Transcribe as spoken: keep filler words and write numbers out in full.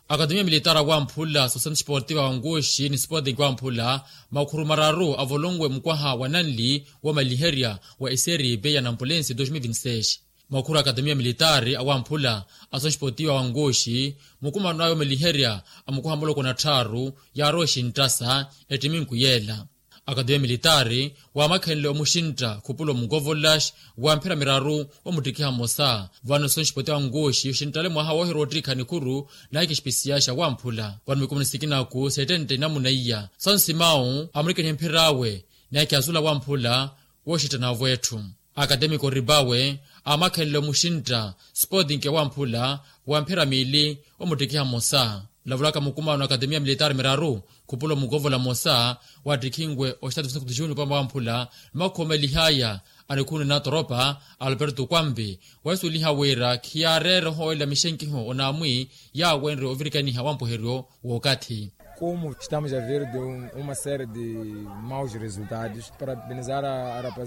Akatemiya militaari awamphula sosentu sportiva wa nkuxi ni sporting wamphula makhuru mararu avolonwe mukwaha wa nanli womaliherya wa eseripe ya nampulensi dos mil vinti seis. Makhuru akatemiya militaari awamphula asosentu sportiva wa nkuxi mukumano ayo omaliherya a mukwaha muloko na tthaaru yaarowa exinttasa ettiminku yeela. Akatemiya militaari wamakhenle omuxintta khupula omukovola wa mphira miraru omuttikiha mmosa vano sosentu sportiva wa nkuxi oxinttale mwaha woohirwa ottikha nikhuru naye kixpisiyaxa wamphula vano mikumo ni sikinaku settenta inamuna iya sansimawu amurikanihe mphir'awe naye kiyasula wamphula wooxittanavo etthu. Akatemiko ribawe amakhenle omuxintta sporting wamphula wa mphira miili omuttikiha mmosa. Olavulaka mukumano akatemiya militaari miraru khupula omukovola mmosa wattikhinwe oxitatu sinakutu junior pama wamphula ni makhomelihaya a nikhunu na toropa alberto kwampi wasuliha wira khiyaareera ohoolela mixenkiho onaamwi yaawenre ovirikaniha wa mpuheryo w'okathi. Como estamos a ver de uma série de maus resultados parabenizar a